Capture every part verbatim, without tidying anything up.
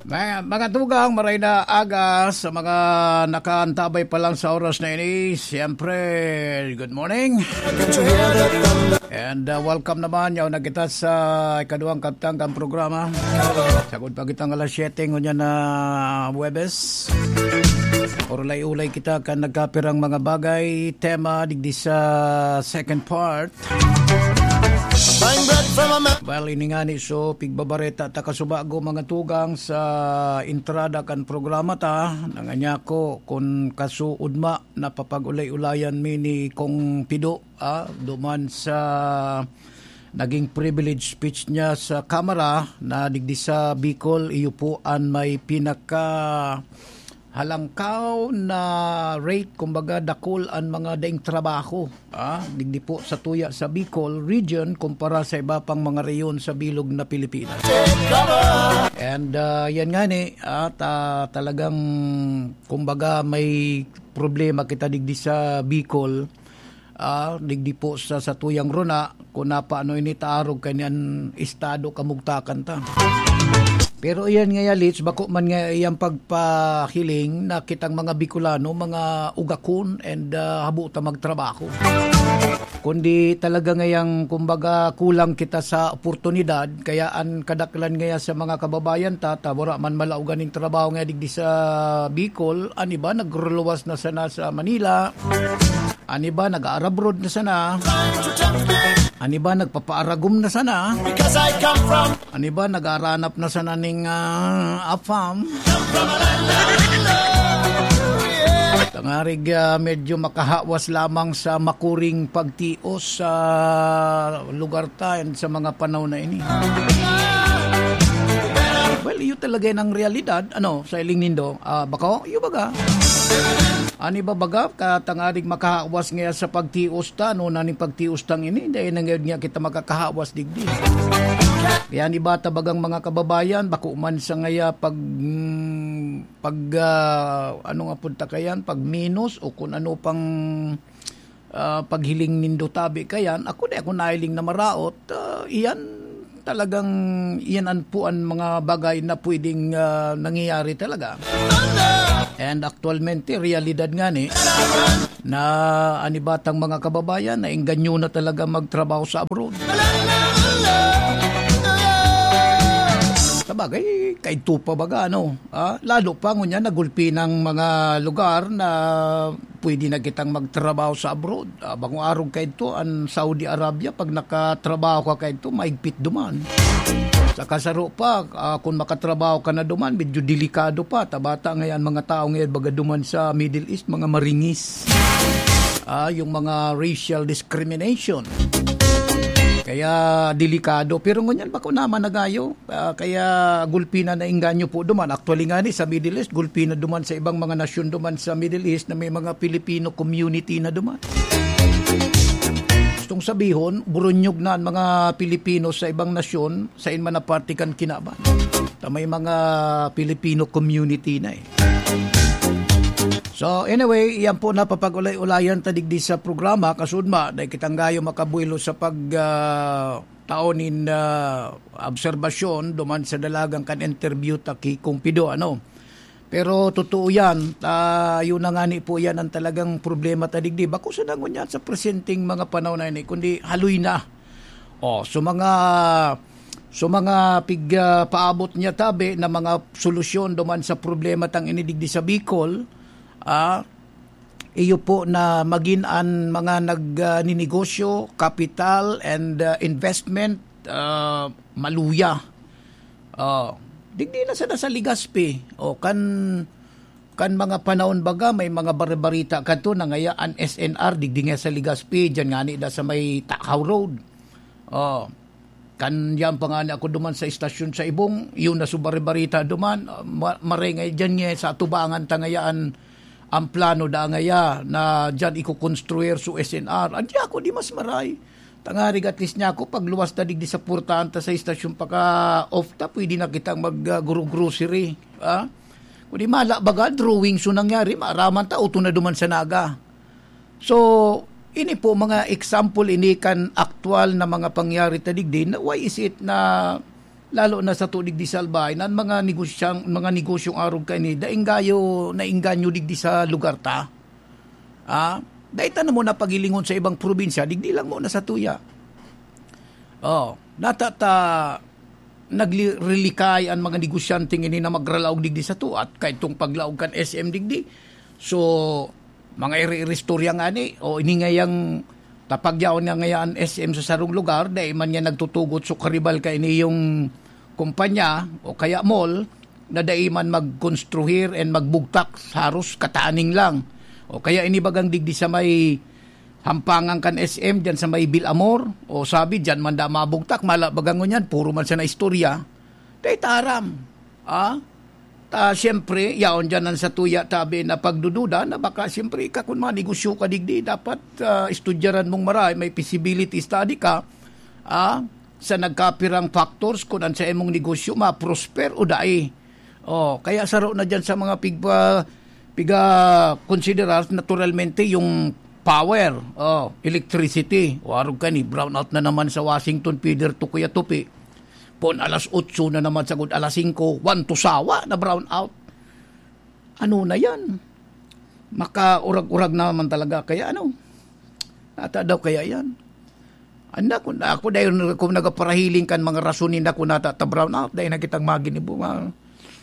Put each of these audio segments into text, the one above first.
Mga, mga tugang, maray na aga sa mga nakaantabay pa lang sa oras na ini. Siyempre, good morning. And uh, welcome naman. Yaw na kita sa ikaduhang kabtang kan programa. Sagod pa kitang alas siyete ngunyan na Huwebes. Urulay-ulay kita kan nagkapirang mga bagay, tema, digdi sa second part. Buying bread from a man. Well, ini nga ni, so, pigbabareta ta kasubago, mga tugang, sa entrada kan programa ta. Nanganyako kun kasuodma na papag-ulay-ulayan mi ni Kong Pido, ah, duman sa naging privilege speech niya sa Kamara na digdi sa Bicol, iyo po an may pinaka halangkaw na rate, kumbaga, dakul an mga daing trabaho, ah, digdi po sa tuya sa Bicol region kumpara sa iba pang mga rehiyon sa bilog na Pilipinas. And, ah, yan nga ni, ah, ta-, talagang, kumbaga, may problema kita digdi sa Bicol, ah, digdi po sa satuyang rona, kung napaano ini taarog kaniyan estado kamugtakan ta. Pero iyan nga ya, Litz, bako man nga iyang pagpahiling na kitang mga Bicolano, mga ugakon and, ah, habo ta magtrabaho. Kundi talaga ngayang, kumbaga, kulang kita sa oportunidad, kaya an kadaklan ngaya sa mga kababayan ta, ta wala man malaogan ning trabaho nga digdi sa Bicol, an iba nagruluwas na sana sa Manila, an iba nag-aarabroad na sana, an iba nagpapaaragom na sana, Because I come from an iba nag-aaranap na sana ning, ah, afam. Tangarig, ah, medyo makahawas lamang sa makuring pagtios sa lugar ta and sa mga panahon na ini. Well, iyo talaga yan ang realidad, ano, sa iling nindo. Ah, bako, iyo baga. Ani ba baga, katangarig makahawas ngaya sa pagtios ta, no, naning pagtios tang ini, dahil na ngayon nga kita makakahawas digdi. Kaya ni bata bagang mga kababayan, bako man sa ngaya pag, mm, pag, ah, ano nga punta kayan, pag minus o kung ano pang, ah, paghiling nindo tabi kayan, ako di ako nahiling na maraot, ah, iyan talagang iyan an po an mga bagay na pwedeng, ah, nangyayari talaga. And aktualmente, realidad nga ni, na an iba tang mga kababayan na engganyo na talaga magtrabaho sa abroad. Sabagay, kaidto pa baga, ano, ah, lalo pa ngunyan nagulpi ng mga lugar na pwede na kitang magtrabaho sa abroad. Ah, bangong arog kaidto, an Saudi Arabia, pag nakatrabaho ka kaidto, maigpit duman. Saka saro pa, ah, kung makatrabaho ka na duman, medyo delikado pa. Tabata ngayon, mga tao ngayon, baga duman sa Middle East, mga maringis. Ah, yung mga racial discrimination. Kaya delikado. Pero ngunyan, bako naman nagayo. Ah, kaya gulpi na naengganyo po duman. Actually nga ni, sa Middle East, gulpi na duman sa ibang mga nasyon duman sa Middle East na may mga Filipino community na duman. Gustong sabihon, burunyog na ang mga Pilipino sa ibang nasyon, sa inman na parte kan kinaban. Ta may mga Filipino community na eh. So anyway, yan po napapag-ulay-ulayan ta digdi sa programa, kasudma, dahil kitang gayo makabuelo sa pag, ah, tao nin, ah, obserbasyon duman sa dalagan kan interview ta ki Kong Pido, ano. Pero totoo yan, ah, yun na nga ni po yan ang talagang problema ta digdi. Bako sa nangon yan sa presenteng mga panahon na ini, kundi haloy na. Oh, so mga, so mga pig, ah, paabot niya tabi na mga solusyon duman sa problema tang ini digdi sa Bicol, ah, iyo po na magin an mga nag, ah, ninegosyo, capital and, ah, investment, ah, maluya. Oh, digdi na sana sa Legazpi. O kan, kan mga panahon baga, may mga baribarita kadto na ngaya an S N R, digdi nga sa Legazpi, diyan nga ni da sa may Takaw Road. Oh, kan yan pa nga ni ako duman sa istasyon sa Ibong, yun na so baribarita duman, ah, ma-, maray nga diyan nga sa atubangan ta ngaya an, ang plano da ngaya na diyan ikukonstruir so S N R. Adi ako di mas maray. Tangarig at least niya ako, pagluwas ta digdi sa portahan ta sa istasyon paka-off ta, pwede na kitang mag, ah, gro-, grocery. Ah? Kundi mala baga, drawing so nangyari, maaraman ta, uto na duman sa Naga. So, ini po mga example ini kan aktual na mga pangyari ta digdi, na why is it na Lalo na sa tudig di sa Albay, na mga negosyang, mga negosyong arog kaini, daing gayo na inganyo digdi sa lugar ta. Ah, dai ta na mo na paghilingon sa ibang probinsya, digdi lang mo na sa tuya. Oh, nata ta naglirilikay an mga negosyante ngini na magralaog digdi sa tuat, kay itong paglaog kan S M digdi. So, mga iri-iristorya ngani, o ini ngayang tapagyaon nga ngaya an S M sa sarong lugar, dai man niya nagtutugot so karibal ka ini yung kumpanya o kaya mall na dai man magkonstruhir and magbugtak, haros kataning lang. O kaya ini bagang digdi sa may hampangan kan S M, diyan sa may Bilamor, o sabi, diyan man da mabugtak, mala bagang ngunyan, puro man siya na istorya. Dai ta aram. Ah? Ta, siyempre, yaon dyan ang sa tuya tabi na pagdududa na baka, siyempre, ika kun manegosyo ka digdi, dapat ah, estudyaran mong maray, may feasibility study ka, ah, sa nagkapirang factors kung an sa imong negosyo ma-prosper o dai. Oh, kaya saro na dyan sa mga pigpa, piga-considerar naturalmente yung power, oh, electricity. O arog ka ni, brownout na naman sa Washington, Peter Tukuya Tupi. Pon alas otso na naman sagod alas singko, one to sawa na brownout. Ano na yan? Makaurag-urag naman talaga kaya ano? Ata daw kaya yan? Anda, kung ako dahil kung nagaparahiling kan mga rason ninda kung nata ta brownout, dahil na kitang maginibo, ma,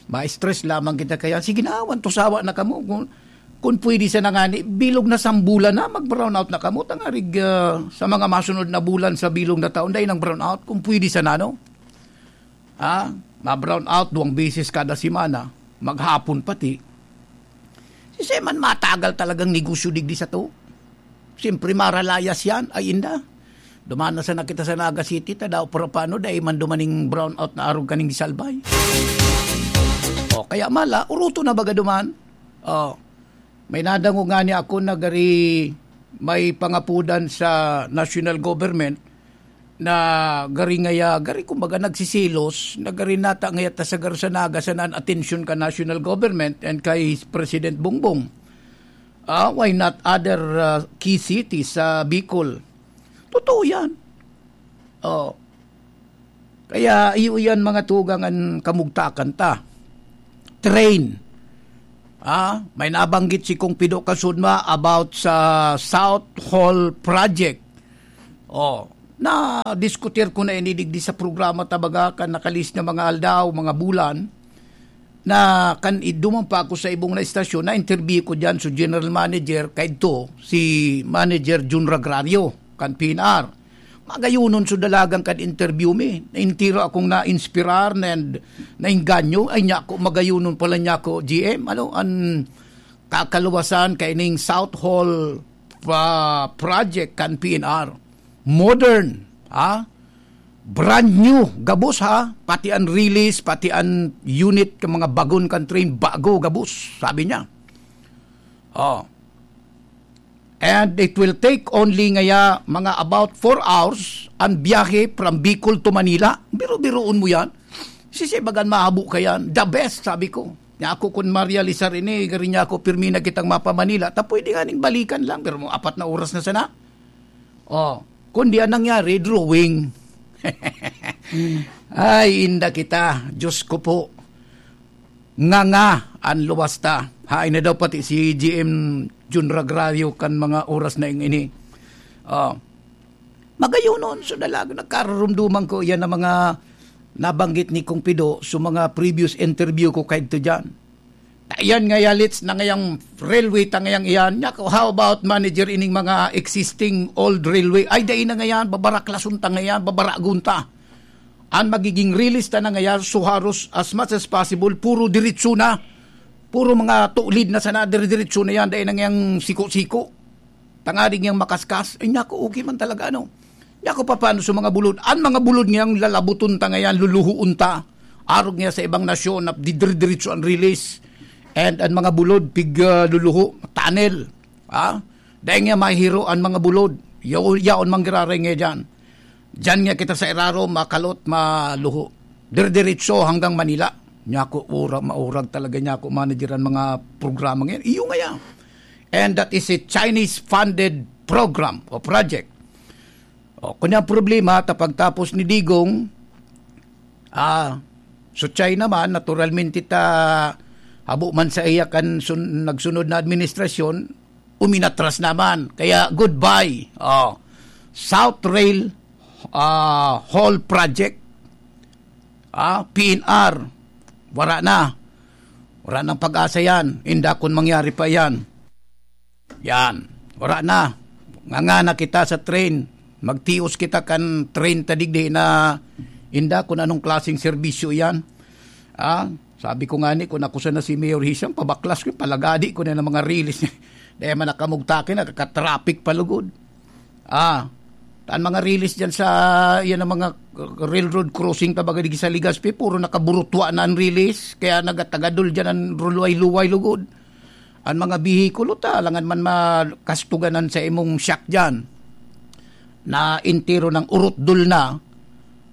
ma-stress lamang kita kaya. Sige na, one to sawa na kamo. Kung, kung pwede sa nangani, bilog na sambulan na, mag-brownout na kamo. Tangarig ah, sa mga masunod na bulan sa bilog na taon, dahil ng brownout, kung pwede sa nano. Ah, ma-brownout duwang beses kada semana, maghapon pati. Si Seman matagal talagang negosyo digdi sa to. Siyempre, maralayas yan, ay inda. Duman na sana kita sa Naga City, ta daw para paano, dai man dumaning brownout na arog kaning gisalbay. O, kaya mala, uruto na baga duman. O, may nadangog nga ni ako na gari may pangapudan sa national government na gari ngaya, gari kumbaga nagsisilos, na gari nata ngaya ta sa Garsanaga sana an atensyon ka national government and kay President Bongbong. Ah, why not other ah, key cities sa Bicol? Totoo yan. Oh. Kaya iyo yan mga tugang an kamugtakan ta. Train. Ah, may nabanggit si Kong Pido Kasudma about sa South Hall Project. Oh, na-diskutir ko na ini digdi sa programa ta baga kan nakalis na mga aldaw, mga bulan, na kan iduman pa ako sa ibong na istasyon, na-interview ko diyan so general manager kaidto, si Manager Jun Ragrario, kan P N R. Magayunon so dalagan kan interview mi. Entero akong na-inspirar and naengganyo. Ay, niya ako, magayunon pala niya ako, G M. Ano, an kakaluwasan kaining South Hall pa project kan P N R. Modern, ha? Brand new, gabos ha? Pati an release, pati an unit, ka mga bagon kan train, bago, gabos, sabi niya. Oh. And it will take only ngaya mga about four hours an biyahe from Bicol to Manila. Biro-biroon mo yan. Sisibagan mahabo ka yan. The best, sabi ko. Nga ako kun marealisar ini, gari niya ako pirmi na kitang mapa Manila. Ta pwede nga ning balikan lang, pero mga apat na oras na sana. Oh, kundi ang nangyari, drawing. Ay, inda kita. Diyos ko po. Nga nga, an luwas ta. Hain na daw pati si G M Jun Ragrario kan mga oras na ing ini. Oh. Magayonon, so dalag, nagkararumduman ko yan ang mga nabanggit ni Kong Pido so mga previous interview ko kaidto dyan. Yan nga yalits na ngayang railway ta ngayang iyan. Nya ko, how about manager ining mga existing old railway? Ay, dai na ngayan, babaraklason ta ngayan, babaragon ta. An magiging release ta na ngayan, so haros as much as possible, puro diretso na. Puro mga tulid na sana, dire-diretso na yan, dai na ngayang siko-siko. Tanganing yang makaskas, ay naku, okay man talaga, ano. Naku, papaano sa mga bulod? Ang mga bulod ngayang lalabuton ta ngayan, luluhuon ta. Arog nga sa ibang nasyon na didiridiritso ang release. And ang mga bulod, pig ah, luluho, tunnel. Ha? Dahil nga mahiro ang mga bulod. Yaw, yaon manggiraray nga dyan. Dyan nga kita sa iraro, makalot, maluho. Diridiritso hanggang Manila. Nyako, ura, maurag talaga nyako, manager ang mga programa ngayon. Iyo nga yan. And that is a Chinese-funded program o project. O, kunya ang problema, ta pagtapos ni Digong, Ah, so China man, naturalmente ta, habo man sa iya kan sun-, nagsunod na administrasyon, uminatras naman. Kaya goodbye. Oh, South Rail, ah, Hall Project, ah, P N R, wala na. Wala nang pag-asa yan. Inda kun mangyari pa yan. Yan. Wala na. Ngangana kita sa train. Magtios kita kan train ta digdi na inda kun anong klaseng serbisyo yan. Ah, sabi ko nga ni, kung ako sana si Mayor Hisham, pabaklas ko, palagadi ko na ng mga release. Dahil man nakamugtakin, nakaka-traffic pa lugod. Ah, ang mga release dyan sa, yan ang mga railroad crossing, tabaga di sa Legazpi, puro nakaburutwa na ang release, kaya nagatagadol dyan ang luway-luway lugod. Ang mga bihikulo ta, alangan man makastuganan sa imong shock dyan, na entero ng urutdol na,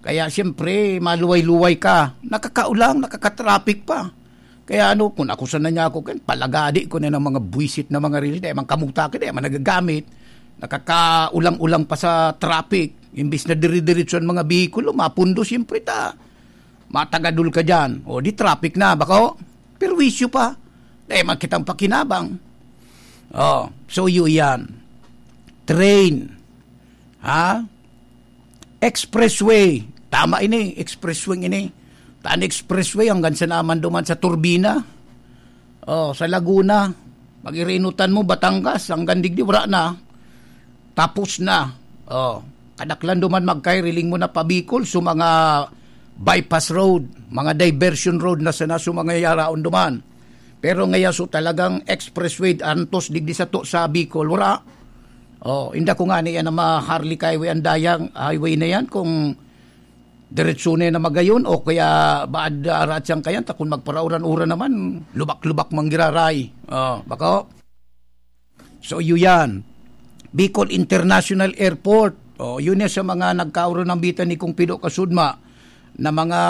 kaya siyempre, maluway-luway ka, nakakaulang, nakakatraffic pa. Kaya ano, kung ako sana niya ako, kan palagadi ko na ng mga buwisit na mga release, dahil man kamugtakin, dahil man nagagamit, nakakaulang-ulang pa sa traffic, imbis na dire-diretso ang mga bihikulo, mapundo siyempre ta, matagadol ka dyan, o di traffic na, bako, perwisyo pa, dahil man kitang pakinabang. Oh, so yun yan. Train, ha? Expressway. Tama ini, expressway ini. Tan expressway hanggang sa naman duman sa Turbina. Oh, sa Laguna. Pag-irinutan mo, Batangas, hanggang digdi, wala na. Tapos na. Oh, kadaklan duman magkairiling mo na pa Bicol, so mga bypass road, mga diversion road na sana so mga yaraon duman. Pero ngayon, so talagang expressway, antos digdi sa to, sa Bicol, wala. Oh, inda ko nga ni yan na ma-Harley Highway ang dayang highway na yan kung diretso na yan na magayon o kaya baad arat siyang kayan, ta kung magparauran-uran naman, lubak-lubak manggiraray. Oh, bako? So, iyo yan. Bicol International Airport. Oh, yun yan sa mga nagkauro ng bitan ni Kung Pido Kasudma na mga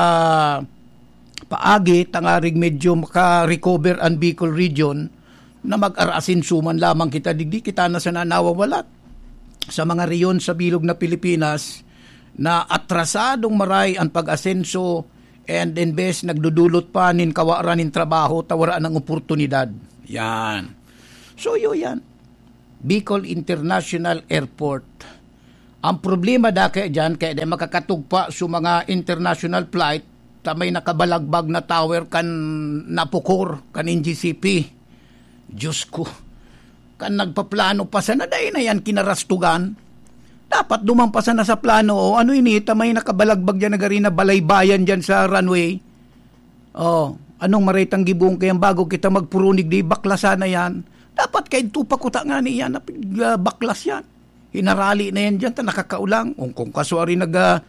paagi, tangarig medyo maka-recover ang Bicol region, na mag-arasin suman lamang kita digdi, kita na sana nawawalat sa mga reyon sa bilog na Pilipinas na atrasadong maray ang pag-asenso and imbes nagdudulot pa nin kawaran nin trabaho, ta wara nang oportunidad. Yan. So, yun yan. Bicol International Airport. Ang problema da kaya dyan, kaya di makakatugpa sa mga international flight, ta may nakabalagbag na tower kan Napocor, kan N G C P. Diyos ko, kan nagpaplano pa sana, dai na yan kinarastugan. Dapat duman pa sana sa plano, o ano ini, ta may nakabalagbag dyan na gari na balaybayan dyan sa runway. Oh, anong maretang gibong kayang bago kita magpurunig di bakla sana yan? Dapat kaidto pa kuta nga ni yan, na pig-, ah, baklas yan. Hinarali na yan dyan, ta nakakaulang. Kung, kung kaswari nag, ah,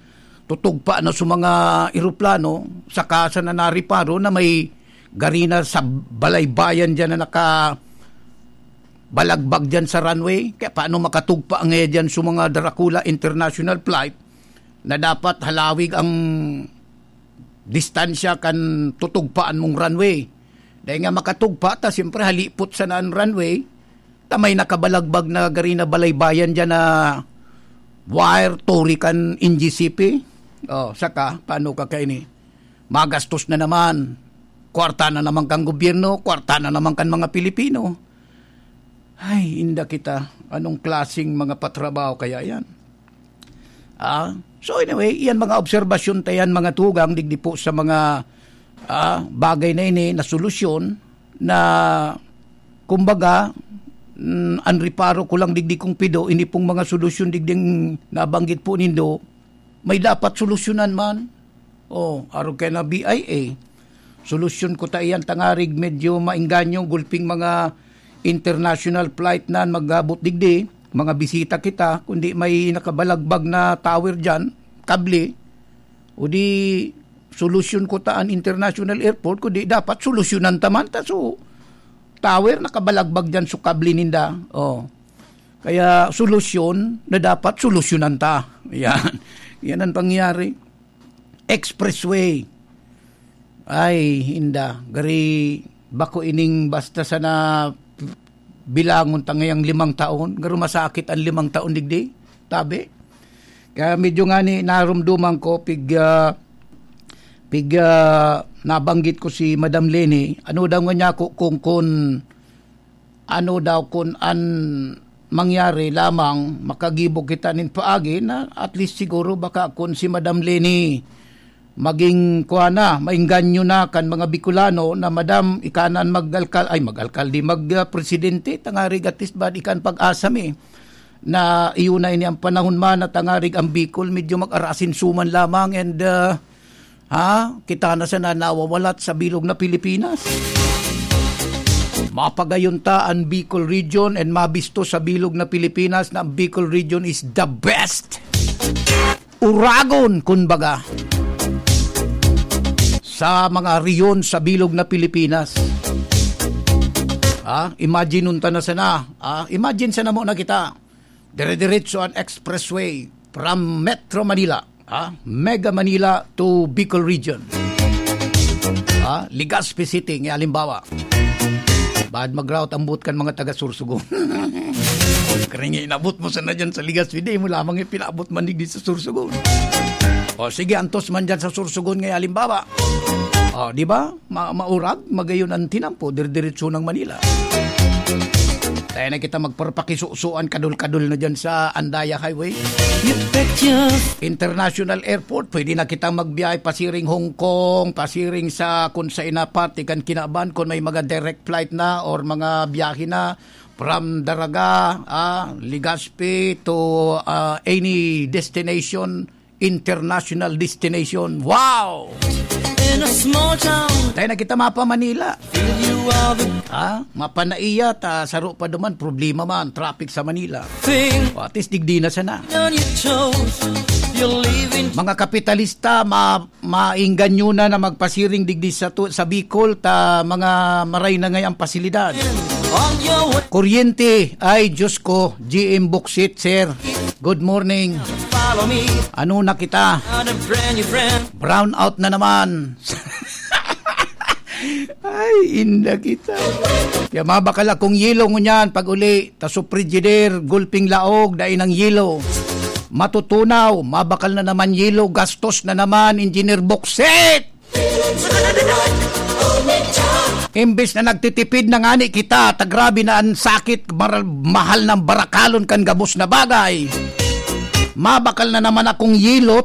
tutugpa na sa mga eroplano, saka sa nanariparo na may gari na sa balaybayan dyan na naka balagbag dyan sa runway. Kaya paano makatugpa nga dyan sa mga Dracula International Flight na dapat halawig ang distansya kan tutugpaan mong runway? Dahil nga makatugpa, ta siyempre halipot sana ang runway, ta may nakabalagbag na gari na balaybayan dyan na wire, turi kan N G C P. Oh, saka, paano ka kaini? Magastos na naman. Kwarta na naman kan gobyerno, kwarta na naman kan mga Pilipino. Ay, inda kita. Anong klaseng mga patrabaho kaya yan? Ah, so anyway, yan mga obserbasyon ta yan, mga tugang, digdi po sa mga, ah, bagay na ini na solusyon na, kumbaga, mm, ang reparo ko lang digdi kung pido, ini pong mga solusyon digding nabanggit po nindo, may dapat solusyonan man. Oh, arog kay na B I A. Solusyon ko ta iyan, tangarig medyo maengganyo, gulping mga international flight na mag-abot digdi, mga bisita kita, kundi may nakabalagbag na tower dyan, kable, o di solusyon ko ta an international airport, kundi dapat solusyonan ta man ta. So, tower, nakabalagbag dyan, so kable ninda. Oh. Kaya solusyon na dapat solusyonan ta. Yan. Yan ang pangyayari. Expressway. Ay, inda. Gari, bako ining basta sana bilangon ta ngayang limang taon. Garo masakit ang limang taon, digdi. Tabi. Kaya medyo nga ni narumduman ko, pig, ah, Piga nabanggit ko si Madam Leni, ano daw nga niya ko kung, kung ano daw kun an mangyari lamang, makagibo kita nin paagi na at least siguro baka kun si Madam Leni maging kuha na, maengganyo na kan mga Bicolano na, "Madam, ika na an mag-alkal-, ay, mag-alkalde, mag, ah, presidente, tangarig at least ba di kan pag-asa mi na iyo na ini ang panahon man na tangarig ang Bicol medyo mag-arasin suman lamang and, ah, ha? Kita na sana nawawalat sa bilog na Pilipinas." Mapagayon ta an Bicol region and mabisto sa bilog na Pilipinas na ang Bicol region is the best. Uragon, kumbaga, sa mga rehiyon sa bilog na Pilipinas. Ah, imagine unta na sana. Ah, imagine sana mo na kita. Dire-diretso an expressway from Metro Manila, ah, Mega Manila to Bicol Region. Ah, Legazpi City, nga halimbawa. Baad mag-route ambot kan mga taga Sorsogon. Kaya nga inabot mo sana dyan sa Legazpi, di mo lamang ipinaabot man digdi sa Sorsogon. O sige, antos man dyan sa Sorsogon, nga halimbawa. O, di ba? Ma-, maurag, magayon ang tinampo, dir-diretso ng Manila. Tayo na kita magparpakisusuan, kadul-kadul na dyan sa Andaya Highway. You bet your International Airport, pwede na kita magbiyahe pasiring Hong Kong, pasiring sa kung sa ina parte kan kinaban, kung may mga direct flight na or mga biyahe na from Daraga, ah, Legazpi to, ah, any destination, international destination. Wow! In a small town, Tayo na kita mapa Manila. Feel you are the Ha? Mapanaiya ta, saro pa duman, problema man, traffic sa Manila. Thing O, at least digdi na sana. On your toes, you're leaving. Mga kapitalista, ma-, mainggan nyo na na magpasiring digdi sa, tu-, sa Bicol, ta mga maray na ngay ang pasilidad. On your way. Kuryente, ay Diyos ko, G M Boksit, sir. Good morning. Follow me. Ano na kita? Not a brand new friend. Brown out na naman. Ay, inda kita. Kaya mabakal akong yelo ngunyan pag uli. Ta sa frigidaire, gulping laog, dai nang yelo. Matutunaw, mabakal na naman yelo, gastos na naman, Engineer Boksit! Imbes na nagtitipid na ngani kita, ta grabe na ang sakit, maral-, mahal ng barakalon kan gabos na bagay. Mabakal na naman akong yelo,